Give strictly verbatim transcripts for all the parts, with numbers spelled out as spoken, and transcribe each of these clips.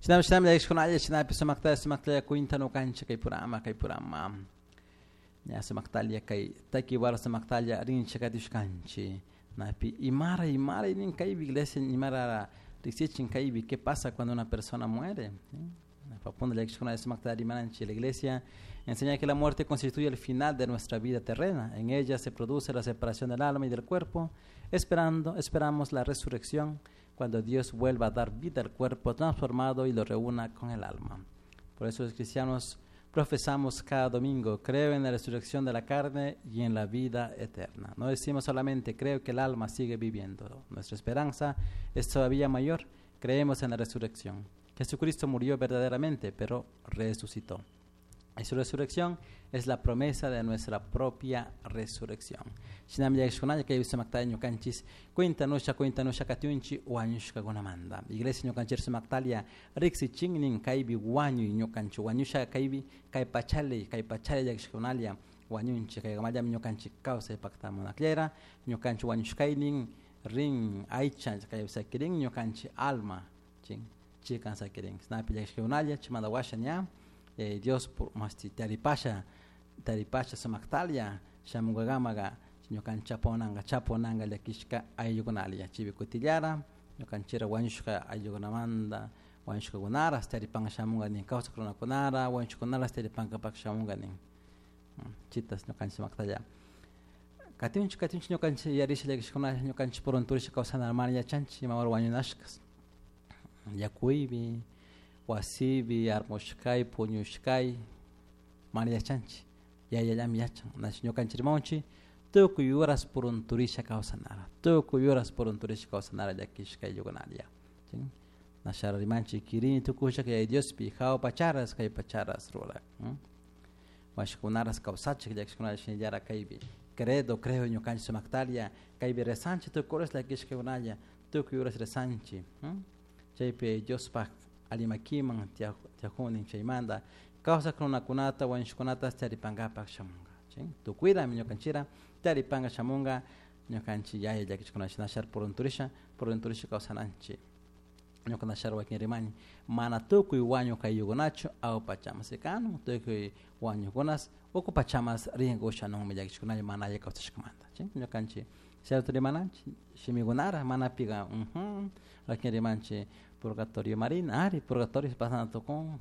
Shinami shinami llakishkunalla shinapi sumaktalla sumaktalla cuenta ñukanchik kay purama kay purama ña sumaktalla kay takiwara sumaktalla rinchik katishkanchik napi imara imara nin kaypi iglesia imara riksichin kaypi qué pasa cuando una persona muere. La iglesia enseña que la muerte constituye el final de nuestra vida terrena. En ella se produce la separación del alma y del cuerpo. Esperando, esperamos la resurrección cuando Dios vuelva a dar vida al cuerpo transformado y lo reúna con el alma. Por eso los cristianos profesamos cada domingo, creo en la resurrección de la carne y en la vida eterna. No decimos solamente creo que el alma sigue viviendo. Nuestra esperanza es todavía mayor. Creemos en la resurrección. Jesucristo murió verdaderamente, pero resucitó. Y su resurrección es la promesa de nuestra propia resurrección. Shinami llakishkunalla kay sumaktalla ñukanchis cuentanusha cuentanusha katiunchi wañushkakunamanta. Iglesia ñukanchik sumaktalla riksichinin kaypi wañuy ñukanchik wañusha kaypi kay pachali kay pachali llakishkunalla wañunchik kaykamallami ñukanchik kawsay paktamun akllera ñukanchik wañushkaynin rin aycha kay sakirin ñukanchik alma chin chikan sakirin snapi llakishkunalla chimanda washa ña eh, Dios por masti taripasha taripasha sumaktalia shamungagamaga ñukan chaponanga chaponanga llakishka ayllukunalla chibi kutillara ñukanchira wañushka ayllukunamanta wañushkakunara taripanga shamunga nin kawsak runakunara wañushkunara taripankapak shamunga nin chitas ñukanchik sumaktalla katinchik katinchik ñukanchik yarisha llakishkuna ñukanchik purunturisha kawsana mana yachanchik imawara wañunashkas yakuypi wasipi armushkay puñushkay mana yachanchik yayallami yachan nash ñukanchik rimawanchik tukuy horas purunturisha kawsanara tukuy horas purunturisha kawsanara llakishka ayllukunalla nashara rimanchik kirini tukushaka yaya Diospi hawa pacharas kay pacharas rurak washkunaras kawsachik llakishkunalla shinallara kaypi credo creo ñukanchik sumaktalla kaypi rezanchik tukuy horas llakishkakunalla tukuy horas rezanchik chaypi Diospaj allimakiman tiajunin chaymanta kawsak runakunata wañushkunata taripankapak shamunka tukuyrami ñukanchira taripanka shamunka ñukanchik yaya llakishkuna shinashar purunturisha purunturisha kawsananchik ñuka nashar wakin rimani mana tukuy wañuk ayllukunachu awpachamas rikanun tukuy wañukunas uku pachamas rinka ushanunmi llakishkunalla mana alli kawsashkamanta ñukanchik cierto rimananchik shimikunara mana piga wakin rimanchik purgatorio marina ari purgatorio pasana tukun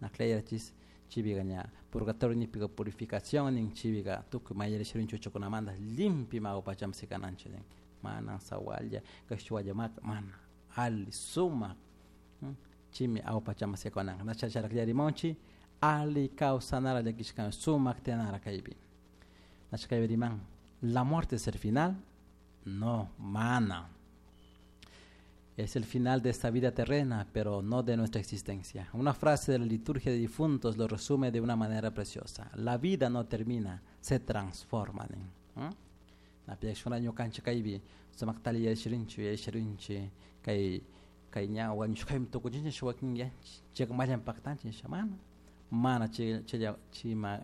nakleyachis chibiga ña purgatorio nipiga purificación nin chibiga tukuy mayarishirinchik huchakunamanta limpio awpachaman sikananchik nin mana sawalla kashwalla maka mana ali sumak chimi awpachaman sikananka nachacharaklarimonchik ali kawsanara llakishkan sumak tiyanara kaypi nachakaypi riman la muerte es el final no mana es el final de esta vida terrena, pero no de nuestra existencia. Una frase de la liturgia de difuntos lo resume de una manera preciosa. La vida no termina, se transforma. Na piakshuna ñukanchik kaypi sumaktalla yashirinchik yashirinchik kay kay ña wañushkaymi tukuchinchik shuk wakin yanchik chayka mallan paktanchik nisha mana mana chay chaylla chima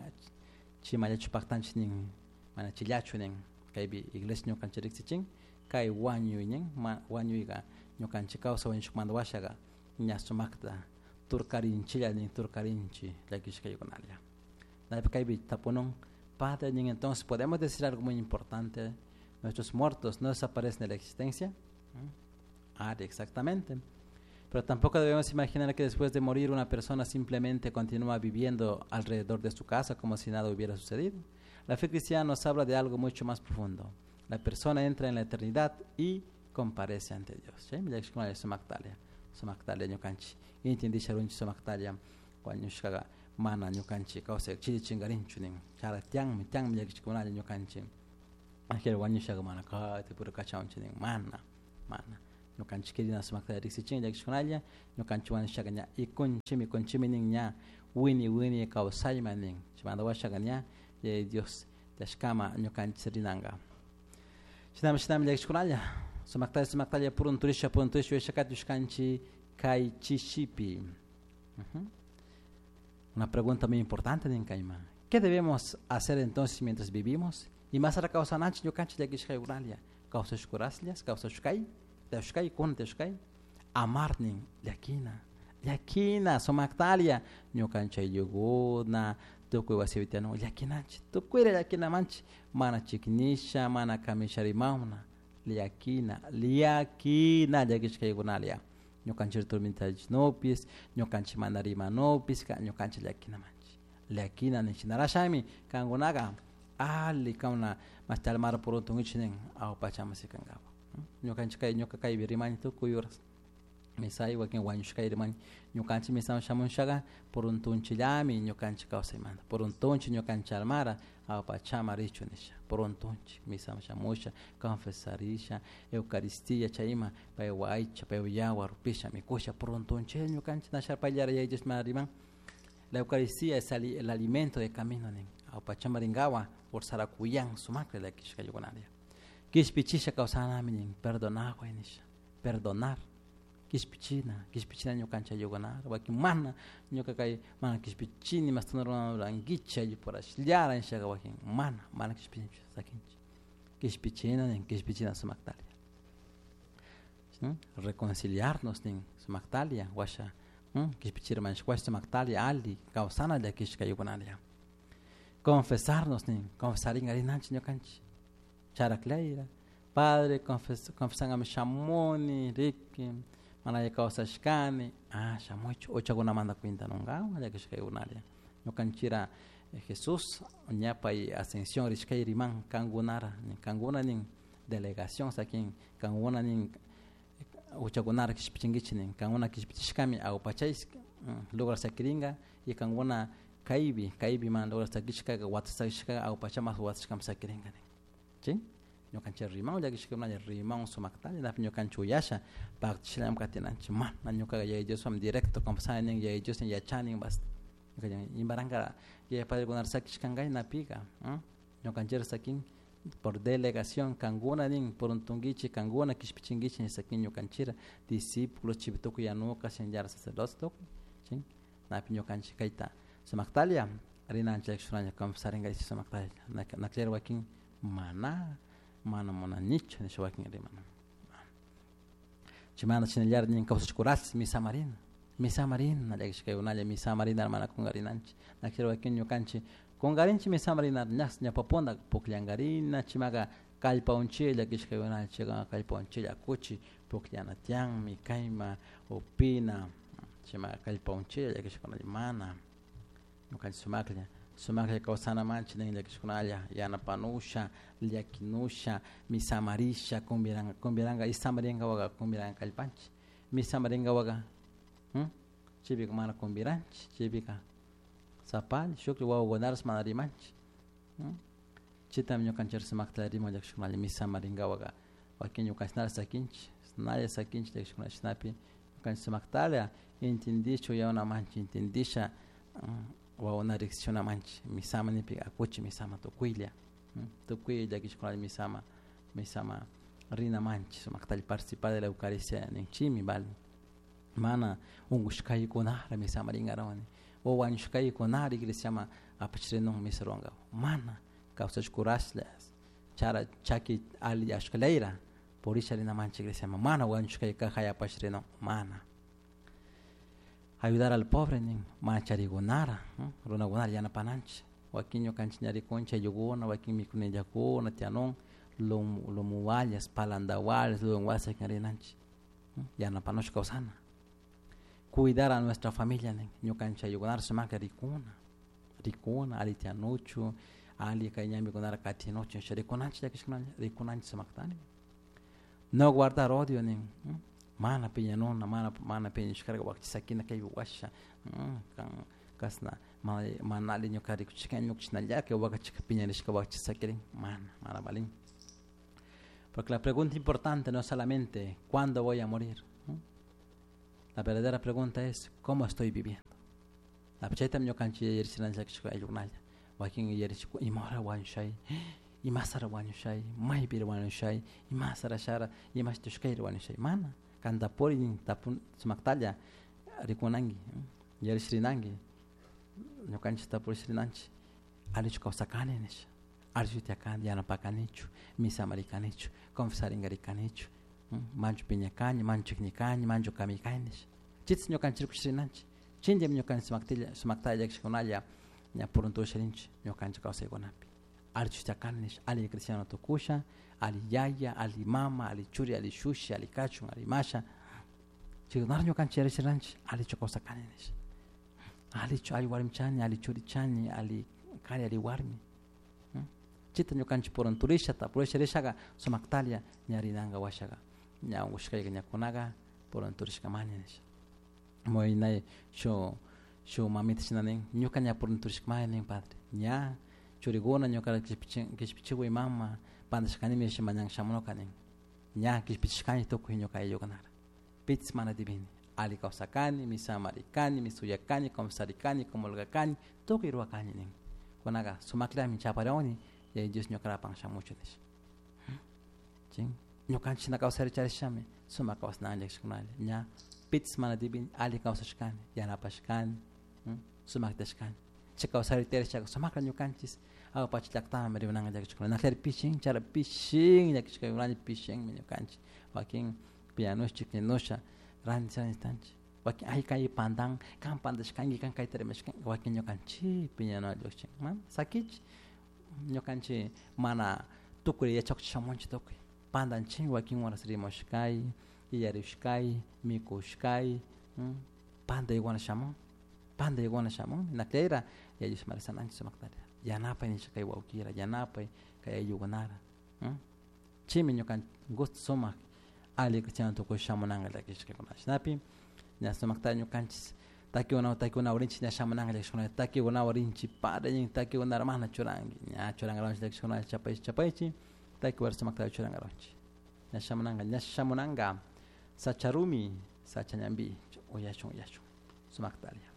chimallachu paktanchik nin mana chillachu nin kaypi iglesia ñukanchik riksichin kay wañuy nin ma wañuyka ñukanchik kawsay wañushkamanta washaqa ña sumakta turkarinchilla nin turkarinchik llakishkaykunalla naypi kaypi tapunun padre nin entonces podemos decir algo muy importante nuestros muertos no desaparecen de la existencia. Ah, exactamente. Pero tampoco debemos imaginar que después de morir una persona simplemente continúa viviendo alrededor de su casa como si nada hubiera sucedido. La fe cristiana nos habla de algo mucho más profundo. La persona entra en la eternidad y comparece ante Dios. Sumaktalla, sumaktalla ñukanchik intendisharunchik sumaktalla wañushkaqa mana ñukanchik kawsay chiri chinkarinchu nin chara tiyanmi tiyanmi llakishkunalla ñukanchik angel wañushaqa mana kayta puro kachawunchik nin mana mana ñukanchik kirina sumaktalla riksichin llakishkunalla ñukanchik wañushaqa ña ikunchimi ikunchimi nin ña wini wini kawsayman nin chaymanta washaqa ña Yaya Dios tiyashkama ñukanchik rinanka shinami shinami llakishkunalla sumaktalla sumaktalla purunturisha purunturisha yuyashakatushkanchik kay chishipi. Una pregunta muy importante nin kayman ¿qué debemos hacer entonces mientras vivimos? Y más ara kawsananchik ñukanchik llakishkaykunalla kawsashkuraslla kawsashkay tiyashkay kuna tiyashkay amar nin llakina Llakina sumaktalia ñukanchik ayllukuna tukuy wasipi tiyanun llakinanchik tukuyla llakinamanchik mana chiknisha mana kamisha rimawna llakina llakina llakishkaykunalia ñukanchik tormentachinupis ñukanchik mana rimanupis ñukanchik llakinamanchik llakina nishinarashami kankunaka alli kauna mashti almara puruntunkichik nin awpachaman sikankapak ñukanchik kay ñuka kaypi rimani tukuy horas misay wakin wañushkay rimani ñukanchik misaman shamushaka puruntunchillami ñukanchik kawsaymanta puruntunchik ñukanchik almara awpachaman richun nisha puruntunchik misaman shamusha confesarisha eucaristía chay ima paywan aycha paywan yawar upisha mikusha puruntunchik ñukanchik nasha payllara Yaya Dios mana riman la eucaristía es el alimento de camino nin awpachaman rinkawan ursarakuyan sumakta llakishkaykunaria kishpichisha kawsanami nin perdonaway nisha perdonar kishpichina kishpichina ñukanchik ayllukunata wakin mana ñuka kay mana kishpichini mashta rurankichik ayllupurashllara nishaka wakin mana mana kishpichinchu sakinchik kishpichina nin kishpichina sumaktalia reconciliarnos nin sumaktalia washa kishpichirmanchik washa sumaktalia alli kawsana llakishka ayllukunalia confesarnos nin confesarinka rinanchik ñukanchik charaklayra padre confes confesankami shamuni riki mana alli kawsashkani ah shamuychik uchakunamanta cuentanunkawan llakishkaykunalia ñukanchikra Jesús ñapay ascensión rishkay riman kankunara kankuna nin delegación sakin kankuna nin uchakunara kishpichinkichik nin kankuna kishpichishkami awpachay lugar sakirinka y kankuna kaypi kaypi mana lugar sakishkaka wata sakishkaka awpachaman watashkami sakirinka nin chay ñukanchik riman llakishkakunalla riman sumaktalla napi ñukanchik uyasha paktachishallami katinanchik mana ñukaka Yaya Dioswan directo confesani nin Yaya Dios yachani basta imaranka yaya padrekunata sakishkankay napika ñukanchikra sakin por delegación kankuna nin puruntunkichik kankuna kishpichinkichik sakin ñukanchikra discípulos chaypi tukuy yanuka shinallara sacerdotes tukuy chay napi ñukanchik kayta sumaktalla rinanchik llakishkunalla confesarinka sumaktalla nakllari wakin mana mana munanichu nisha wakin rimana chaymanta shinallara nin kawsashkurash misamarina misamarina llakishkaykunalla misamarina mana kunkarinanchik nakllari wakin ñukanchik kunkarinchik misamarina ñas ñawpapunta pukllankarina chaymaka kallpawanchik llakishkaykunalla chayka kallpawanchik akuchik pukllana tiyanmi kayma upina chaymaka kallpawanchik llakishkunalla mana ñukanchik sumaklla sumaklla kawsanamanchik nin llakishkunalla yanapanusha llakinusha misamarisha kumbiranka kumbiranka isamarinkawanka kumbiranka kallpanchik misamarinkawanka chaypika mana kumbiranchik chaypika sapalla shuklla wawakunarash mana rimanchik chaytami ñukanchik sumakta riman llakishkunalla misamarinkawanka wakin ñukanchik sakinchik nalla sakinchik llakishkunalla chashnapi ñukanchik sumaktalla entendisha uyawanamanchik entendisha wawakuna riksishunamanchik misama nipika akuchik misama tukuylla tukuy llakishkunalla misama misama rinamanchik sumaktalla participar de la eucaristía ninchikmi vale mana unkushkaykunara misama rinkarawani o wañushkaykunara iglesiaman apachrinun misa ruwankapak mana kawsashkurashlla chara chaki alli ashkalayra purisha rinamanchik iglesiaman mana wañushkay caja apashrinun mana ayudar al pobre nin mana charikunara runakunara yanapananchik wakin ñukanchik ña rikunchik ayllukuna wakin mikunillakuna tiyanun lumuwallas palantawallas ludunwallas rinanchik yanapanush kawsana cuidar a nuestra familia nin ñukanchik ayllukunara sumakta rikuna rikuna alli tiyanuchu alli kay ñambikunara katinuchu rikunanchik llakishkunalla rikunanchik sumaktami no guardar odio nin mana piñanuna mana mana piñashkarka wakcha sakina kaypi washa kan kasna mana mana alli ñuka rikuchishkani ñuka chashnallaka wakachika piñarishka wakcha sakirin mana mana valin porque la pregunta importante no es solamente cuándo voy a morir. La verdadera pregunta es cómo estoy viviendo. Chaytami ñukanchik yuyarichinanchik ayllukunalla wakin yuyarichik ima hora wañushay imasara wañushay maypira wañushay imasara shara imashtushkayra wañushay mana kanta puri nin tapun sumaktalla rikunanki yuyarishrinanki ñukanchik tapurishrinanchik allichu kawsakani nisha allichu tiyakani yanapakanichu misamarikanichu confesarinkarikanichu manchu piñakani manchu chiknikani manchu kamikani nisha Chitz ñukanchik rikuchirinanchik chinllami ñukanchik sumaktilla sumaktalla llakishkunalla ña puruntusharinchik ñukanchik kawsaykunapi allichu chakani nish alli cristiano tukusha alli yaya alli mama alli churi alli shushi alli kachun alli masha chaykunara ñukanchik yarishiranchik allichu kawsakani nish allichu alli warmi chani alli churi chani alli kari alli warmi chita ñukanchik purunturisha tapurisha rishaka sumaktalla ña rinanka washaka ña unkushkayka ñakunaga purunturishkamani nisha muy shu shu mamita shina nin ñuka ña purunturishkamani nin padre ña churikuna ñuka kishpichiwi mama pandashkanimi mañan shamunuka nin ña kishpichishkani tukuy ñuka ayllukunara pitis mana divini alli kawsakani misamarikani misuyakani confesarikani comulgakani tukuy rurakani nin kunaka sumaklami chaparawani yaya Dios ñukarapan shamuchu nish chin ñukanchik shina kawsari charishami sumak kawsanalla llakishkunalla ña pitis mana divini alli kawsashkani yanapashkani sumaktashkani chay kawsari tiyarishaka sumakla ñukanchik awa pacha llaktaman rimananka llakishkuna naklari pishin chara pishin llakishkakunalla pishinmi ñukanchik wakin piñanush chikninusha ranti rantitanchik wakin ay kay pandan kan pandashkanki kan kayta rimashkanki wakin ñukanchik piñanua llukshin mana sakichik ñukanchik mana tukuy yachakuchik shamunchik tukuy pandanchik wakin horas rimushkay yuyarishkay mikushkay pandaykuna shamun pandaykuna shamun nakllayra Yaya Dios marisananchik sumaktalla yanapay nisha kay wawkira yanapay kay ayllukunara chaymi ñukanchik gusto sumak alli cristiano tukuy shamunanka llakishkakuna shinapi ña sumaktalla ñukanchik takikuna takikuna rinchik ña shamunanka llakishkuna takikunawan rinchik padre nin takikunara mana churanki ña churankaranchik llakishkuna chapaychik chapaychik takiwara sumaktalla churankaranchik ña shamunanka ña shamunanka sacharumi sachañambi uyashun uyashun sumaktalla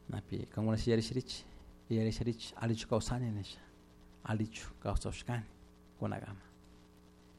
napi kankuna yuyarishirichik yuyarishirichik allichu kawsani nisha allichu kawsashkani kunakama.